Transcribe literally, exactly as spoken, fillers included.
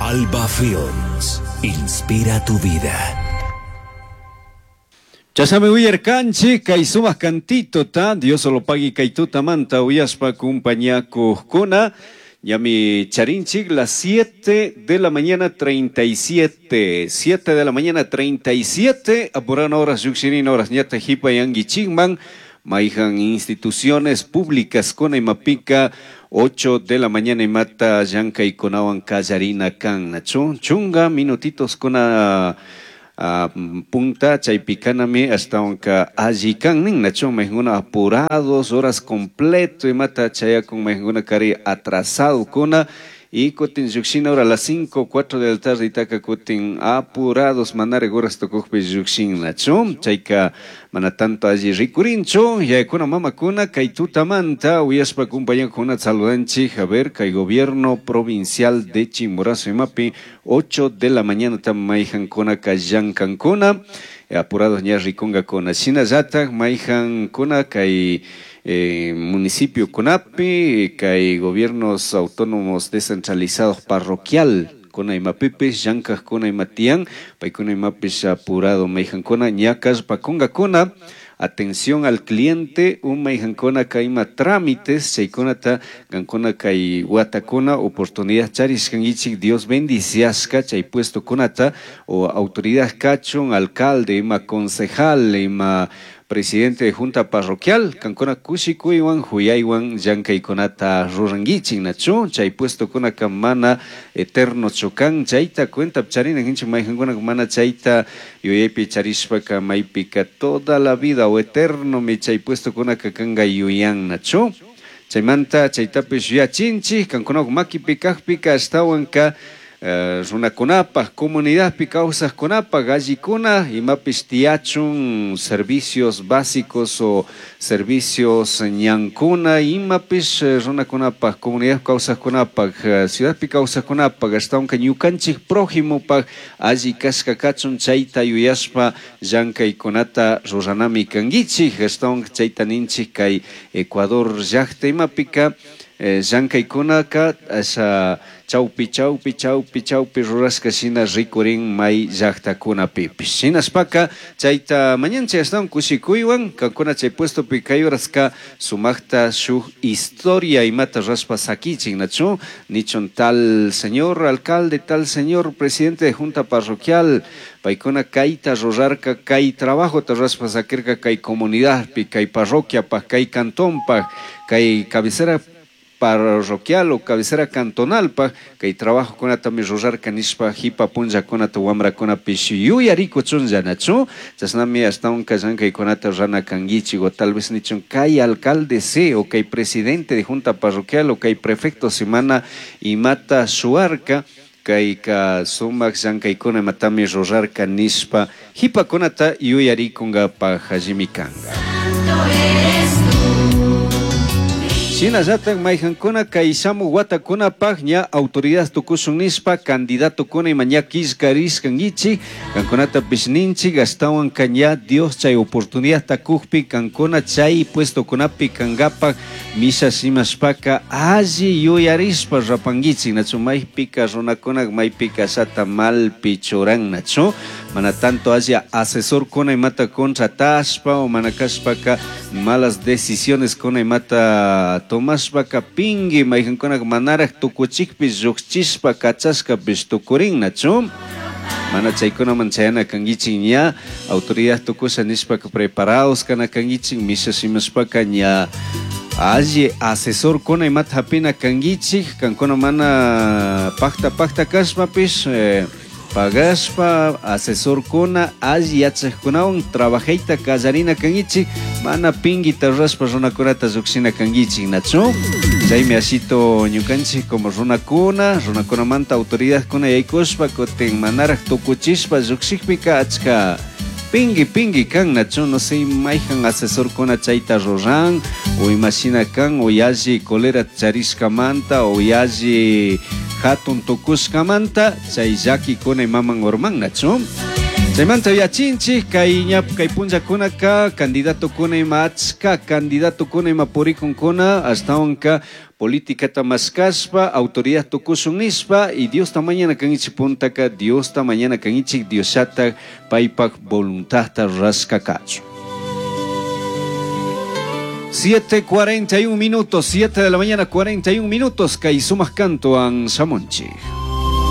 Alba Films. Inspira tu vida. Chashnami uyarkanchik kay sumak cantitota Dios solo pagui kay tutamanta uyashpa kumpañakukuna. Ñami charinchik las siete de la mañana treinta y siete, siete de la mañana treinta y siete, apurana horas llukshirin horas ñata hipayanguichikman, mayhan instituciones públicas kuna imapika ocho de la mañana imata llankaykunawan kallarina kan, nachu? Chunga minutitos kuna uh, punta chaypikanami ashtawanka alli kan nin, nachu? Mayhankuna apurados horas completo imata chayakun, mayhankuna kari atrasado kuna y kutin llukshina hora a las cinco, cuatro de la tarde itaka kutin apurados manare horas tukukpi llukshin, nachu? Chayka mana tanto alli rikurinchu. Yayakuna mamakuna, kay tutamanta uyashpa kumpañakuna saludanchik. A ver, kay gobierno provincial de Chimborazo imapi ocho de la mañana tam mayhankuna llankankuna, apurados ña rikunkakuna. Shinallatak mayhankuna kay eh, municipio kunapi, kay gobiernos autónomos descentralizados parroquial kuna imapipis llankajkuna ima tiyan, paykuna imapish apurado mayhankuna ña kallpakunkakuna atención al cliente u mayhankuna kay ima trámites chaykunata. Kankuna kay watakuna oportunidad charishkankichik, Dios bendiciashka chay puestokunata o autoridad kachun, alcalde ima, concejal ima, presidente de junta parroquial, kankuna kushikuywan huyaywan llankaykunata rurankichik, nachu? Chay puestokunaka mana eterno kan, chayta cuenta charina kanchik. Mayhankuna mana chayta yuyaypi charishpaka maypika toda la vida o eterno mi chay puestokunaka kanka yuyan, nachu? Chaymanta chaytapish yuyachinchik. Kankuna makipi kakpika ashtawanka uh, runakunapaj, comunidadpi kawsajkunapaj allikuna imapish tiyachun, servicios básicos o servicios ñankuna imapish runakunapaj, comunidad kawsajkunapaj, ciudadpi kawsajkunapaj, ashtawanka ñukanchik prójimopaj alli kashka kachun, chayta yuyashpa llankaykunata ruranami kankichik. Ashtawanka chayta ninchik, kay Ecuador llakta imapika eh, llankaykunaka asha chawpi chawpi chawpi chawpi rurashka shina rikurin may llaktakunapipish. Shinashpaka chayta mañanchik ashtawan kushikuywan kankuna chay puestopi kay horaska sumakta shuk historia imata rurashpa sakichik, nachu? Nichun tal señor alcalde, tal señor presidente de junta parroquial, paykuna kayta rurarka, kay trabajota rurashpa sakirka kay comunidadpi, kay parroquiapaj, kay cantonpaj, kay cabecera parroquial o cabecera cantonalpaj kay trabajokunatami rurarka nishpa hipa punllakunata wamrakunapish yuyarikuchunlla, nachu? Chashnami ashtawanka llankaykunata rurana kankichik. O tal vez nichun kay alcalde sí o kay presidente de junta parroquial o kay prefecto semana imata shuarka, kayka sumak llankaykunata imatami rurarka nishpa hipakunata yuyarikunkapaj allimi kanka. Shinallatak mayhankuna kay shamuk watakunapaj ña autoridad tukushun nishpa candidatokuna ima ña killkarishkankichik, kankunatapish ninchik, ashtawanka ña Dios chay oportunidadta kukpi kankuna chay puestokunapi kankapak misha shimashpaka alli yuyarishpa rapankichik, nachu? Maypika runakuna maypika shata malpi churan, nachu? Mana tanto alli asesorkuna imata contratashpa o mana kashpaka malas decisiones kuna imata tomashpaka pingui mayhankuna manaraj tukuchikpi llukchishpa kachashkapish tukurin, nachu? Mana chaykunaman chayana kankichik. Ña autoridad tukusha nishpaka preparados kana kankichik. Misha shimashpaka ña alli asesorkuna imata hapina kankichik. Kankuna mana pakta pakta kashpapish eh, pagashpa asesorkuna alli yachajkunawan trabajayta kallarina kankichik, mana pinguita rurashpa runakunata llukshina kankichik, nachu? Chaymi ashito ñukanchik como runakuna, runakunamanta autoridadkuna yaykushpa kutin manaraj tukuchishpa llukshikpika achka pingui pingui kan, nachu? No sé mayhan asesorkuna chayta ruran o imashina kan o yalli colera charishkamanta o yalli hatun tukushkamanta chay llakikuna imaman urman, nachu? Chaymanta yachinchik kay ña kay punllakunaka candidatokuna ima achka candidatokuna ima purikunkuna ashtawanka politikata mashkashpa autoridad tukushun nishpa y Diosta mañana kankichik puntaka Diosta mañana kankichik Diosllatak paypak voluntadta rurashka kachun. siete cuarenta y un minutos, siete de la mañana cuarenta y un minutos, kay sumaq kantuwan shamunchik.